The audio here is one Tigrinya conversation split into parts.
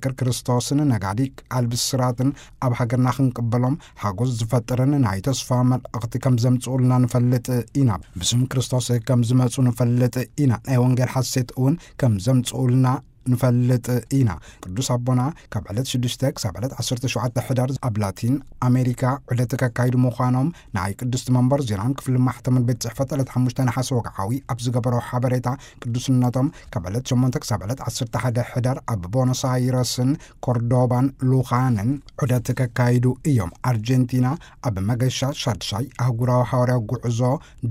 ምስክር ክርስቶስን ነጋዲ ቃል ብስራትን ኣብ ሃገርና ክንቅበሎም ሓጎስ ዝፈጥርን ናይ ተስፋ መልእኽቲ ከም ዘምጽኡልና ንፈልጥ ኢና። ብስም ክርስቶስ ከም ዝመጹ ንፈልጥ ኢና። ናይ ወንጌል ሓሴት እውን ከም ዘምጽኡልና ንፈልጥ ኢና። ቅዱስ ኣቦና ካብ ዕለት ሽዱሽተ ክሳብ ዕለት ዓሰርተ ሸውዓተ ሕዳር ኣብ ላቲን ኣሜሪካ ዑደት ከካይዱ ምዃኖም ናይ ቅድስቲ መንበር ዜናን ክፍሊ ማሕተምን ቤት ጽሕፈት ዕለት ሓሙሽተ ነሓሰ ወግዓዊ ኣብ ዝገበሮ ሓበሬታ፣ ቅዱስነቶም ካብ ዕለት ሸሞንተ ክሳብ ዕለት ዓሰርተ ሓደ ሕዳር ኣብ ቦኖስ ኣይረስን ኮርዶባን ሉኻንን ዑደት ከካይዱ እዮም። ኣርጀንቲና ኣብ መገሻ ሻድሻይ ኣህጉራዊ ሃዋርያ ጉዕዞ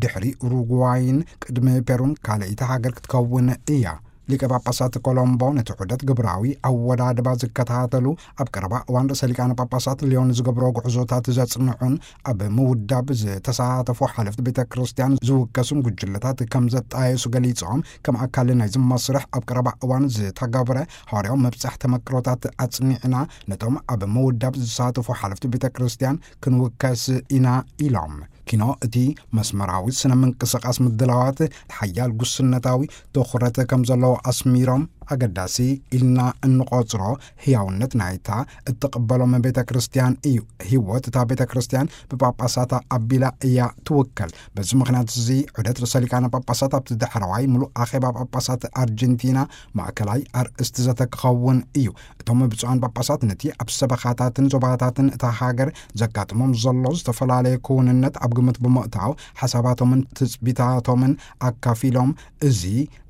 ድሕሪ ኡሩጉዋይን ቅድሚ ፔሩን ካልኣይቲ ሃገር ክትከውን እያ። ሊቀ ጳጳሳት ኮሎምቦ ነቲ ዑደት ግብራዊ ኣወዳድባ ዝከታተሉ፣ ኣብ ቀረባ እዋን ርእሰ ሊቃነ ጳጳሳት ሊዮን ዝገብሮ ጉዕዞታት ዘጽንዑን ኣብ ምውዳብ ዝተሳተፉ ሓለፍቲ ቤተ ክርስቲያን ዝውከሱን ጉጅለታት ከም ዘጣየሱ ገሊጾም፣ ከም ኣካል ናይዚ መስርሕ ኣብ ቀረባ እዋን ዝተገብረ ሃዋርያዊ መብጻሕ ተመክሮታት ኣጽኒዕና ነቶም ኣብ ምውዳብ ዝሳተፉ ሓለፍቲ ቤተ ክርስቲያን ክንውከስ ኢና ኢሎም። ኪኖ እቲ መስመራዊ ስነ ምንቅስቃስ ምድላዋት ሓያል ጉስነታዊ ትኹረት ከም ዘለዎ ኣስሚሮም፣ ኣገዳሲ ኢልና እንቆጽሮ ህያውነት ናይታ እትቕበሎም ቤተ ክርስቲያን እዩ። ህይወት እታ ቤተ ክርስቲያን ብጳጳሳታ ኣቢላ እያ ትውከል። በዚ ምኽንያት እዚ ዑደት ርእሰ ሊቃነ ጳጳሳት ኣብቲ ዳሕረዋይ ምሉእ ኣኼባ ጳጳሳት ኣርጀንቲና ማእከላይ ኣርእስቲ ዘተ ክኸውን እዩ። እቶም ብፁዓን ጳጳሳት ነቲ ኣብ ሰበኻታትን ዞባታትን እታ ሃገር ዘጋጥሞም ዘሎ ዝተፈላለየ ክውንነት ኣብ ግምት ብምእታው፣ ሓሳባቶምን ትጽቢታቶምን ኣካፊሎም፣ እዚ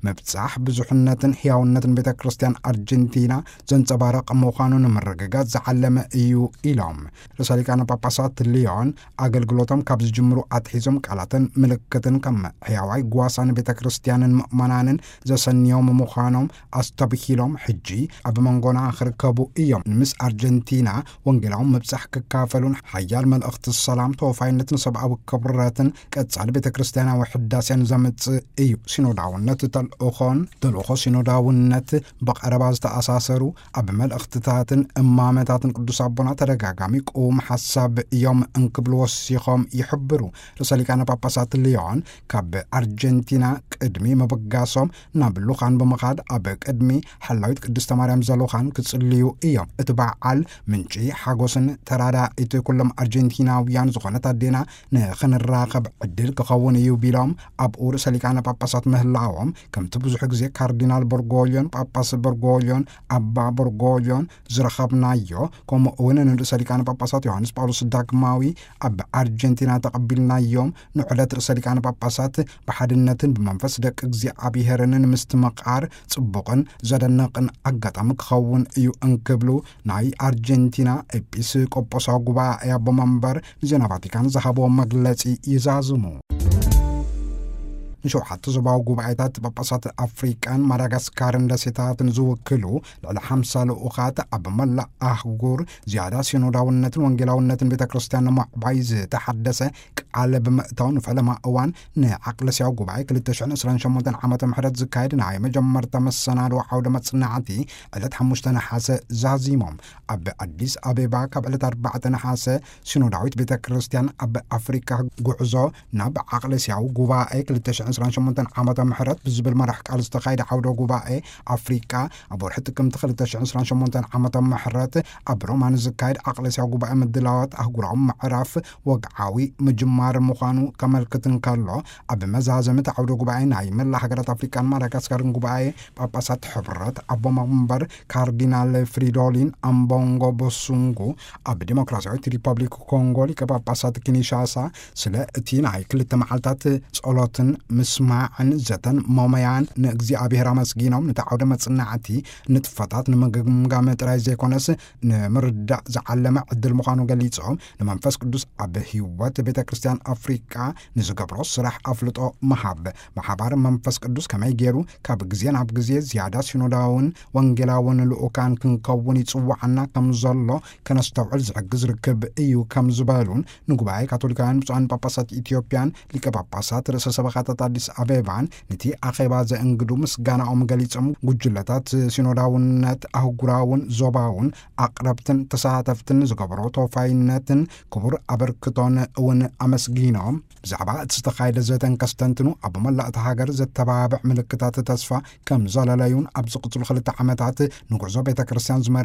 ምብጻሕ ብዙሕነትን ህያውነትን ቤተ ክርስቲያን ኣርጀንቲና ዘንጸባርቕ ምዃኑ ንምርግጋጽ ዝዓለመ እዩ ኢሎም። ርእሰ ሊቃነ ጳጳሳት ሊዮን ኣገልግሎቶም ካብ ዝጅምሩ ኣትሒዞም ቃላትን ምልክትን ከም ሕያዋይ ጓሳ ንቤተ ክርስቲያንን ምእመናንን ዘሰንዮም ምዃኖም ኣስተብሂሎም፣ ሕጂ ኣብ መንጎና ክርከቡ እዮም። ምስ ኣርጀንቲና ወንጌላዊ ምብጻሕ ክካፈሉን ሓያል መልእኽቲ ሰላም፣ ተወፋይነትን ሰብኣዊ ክብረትን ቀጻሊ ቤተ ክርስቲያናዊ ሕዳሴን ዘምጽእ እዩ። ሲኖዳውነት ተልእኾን ተልእኾ ሲኖዳውነት ብቐረባ ዝተኣሳሰሩ ኣብ መልእኽትታትን እማመታትን ቅዱስ ኣቦና ተደጋጋሚ ቅዉም ሓሳብ እዮም እንክብሉ ወሲኾም ይሕብሩ። ርእሰ ሊቃነ ጳጳሳት ሊዮን ካብ ኣርጀንቲና ቅድሚ ምብጋሶም ናብ ሉኻን ብምኻድ ኣብ ቅድሚ ሓላዊት ቅድስተ ማርያም ዘሉኻን ክጽልዩ እዮም። እቲ በዓል ምንጪ ሓጎስን ተራዳኢት ኩሎም ኣርጀንቲናውያን ዝኾነት ኣዴና ንኽንራኸብ ዕድል ክኸውን እዩ ቢሎም፣ ኣብኡ ርእሰ ሊቃነ ጳጳሳት ምህላዎም፣ ከምቲ ብዙሕ ግዜ ካርዲናል በርጎልዮን ጳጳስ በርጎልዮን ኣባ በርጎልዮን ዝረኸብናዮ፣ ከምኡ እውን ንርእሰ ሊቃነ ጳጳሳት ዮሃንስ ጳውሎስ ዳግማዊ ኣብ ኣርጀንቲና ተቐቢልናዮም፣ ንዑደት ርእሰ ሊቃነ ጳጳሳት ብሓድነትን ብመንፈስ ደቂ እግዚኣብሔርን ንምስትምቓር ጽቡቕን ዘደንቕን ኣጋጣሚ ክኸውን እዩ እንክብሉ ናይ ኣርጀንቲና ኤጲስቆጶሳዊ ጉባኤ ኣቦ መንበር ንዜና ቫቲካን ዝሃብዎ መግለጺ ይዛዝሙ። ንሸውዓተ ዞባዊ ጉባኤታት ጳጳሳት ኣፍሪቃን ማዳጋስካርን ደሴታትን ዝውክሉ ልዕሊ ሓምሳ ልኡኻት ኣብ መላእ ኣህጉር ዝያዳ ሲኖዳውነትን ወንጌላውነትን ቤተ ክርስቲያን ንምዕባይ ዝተሓደሰ ቃል ብምእታው፣ ንፈለማ እዋን ንዓቅለስያዊ ጉባኤ ክልተ ሽሕን ዕስራን ሸሞንተን ዓመተ ምሕረት ዝካየድ ናይ መጀመርታ መሰናድኦ ዓውደ መጽናዕቲ ዕለት ሓሙሽተ ነሓሰ ዛዚሞም። ኣብ ኣዲስ ኣበባ ካብ ዕለት ኣርባዕተ ነሓሰ ሲኖዳዊት ቤተ ክርስቲያን ኣብ ኣፍሪካ ጉዕዞ ናብ ዓቅለስያዊ ጉባኤ ክልተ ሽሕን ዕስራን ሸሞንተን ዓመተ ምሕረት ብዝብል መራሕ ቃል ዝተኻየደ ዓውደ ጉባኤ ኣፍሪካ ኣብ ወርሒ ጥቅምቲ ክልተ ሽሕን ዕስራን ሸሞንተን ዓመተ ምሕረት ኣብ ሮማ ንዝካየድ ዓቅለስያዊ ጉባኤ ምድላዋት ኣህጉራዊ ምዕራፍ ወግዓዊ ምጅማር ምዃኑ ከመልክት እንከሎ፣ ኣብ መዛዘሚ እቲ ዓውደ ጉባኤ ናይ መላ ሃገራት ኣፍሪቃን ማዳጋስካርን ጉባኤ ጳጳሳት ሕብረት ኣቦ መንበር ካርዲናል ፍሪዶሊን ኣምቦንጎ ቦሱንጉ፣ ኣብ ዲሞክራሲያዊት ሪፐብሊክ ኮንጎ ሊቀ ጳጳሳት ኪንሻሳ፣ ስለ እቲ ናይ ክልተ መዓልታት ጸሎትን ምስማዕን ዘተን ሞመያን ንእግዚኣብሔር ኣመስጊኖም፣ ነቲ ዓውደ መጽናዕቲ ንጥፈታት ንምግምጋም ጥራይ ዘይኮነስ ንምርዳእ ዝዓለመ ዕድል ምዃኑ ገሊጾም፣ ንመንፈስ ቅዱስ ኣብ ህይወት ቤተ ክርስቲያን ኣፍሪቃ ንዝገብሮ ስራሕ ኣፍልጦ ምሃብ፣ ብሓባር መንፈስ ቅዱስ ከመይ ገይሩ ካብ ግዜ ናብ ግዜ ዝያዳ ሲኖዳውን ወንጌላውን ልኡካን ክንከውን ይጽውዓና ከም ዘሎ ከነስተውዕል ዝሕግዝ ርክብ እዩ ከም ዝበሉን፣ ንጉባኤ ካቶሊካውያን ብፁዓን ጳጳሳት ኢትዮጵያን ሊቀ ጳጳሳት ርእሰ ሰበኻታት ኣዲስ ኣበባን ነቲ ኣኼባ ዘእንግዱ ምስጋናኦም ገሊጾም፣ ጉጅለታት ሲኖዳውነት ኣህጉራውን ዞባውን ኣቕረብትን ተሳተፍትን ዝገበሮ ተወፋይነትን ክቡር ኣበርክቶን እውን ኣመስጊኖም፣ ብዛዕባ እቲ ዝተኻየደ ዘተን ከስተንትኑ፣ ኣብ መላእ እታ ሃገር ዘተባብዕ ምልክታት ተስፋ ከም ዘለለዩን፣ ኣብ ዝቕጽሉ ክልተ ዓመታት ንጉዕዞ ቤተ ክርስቲያን ዝመርሕ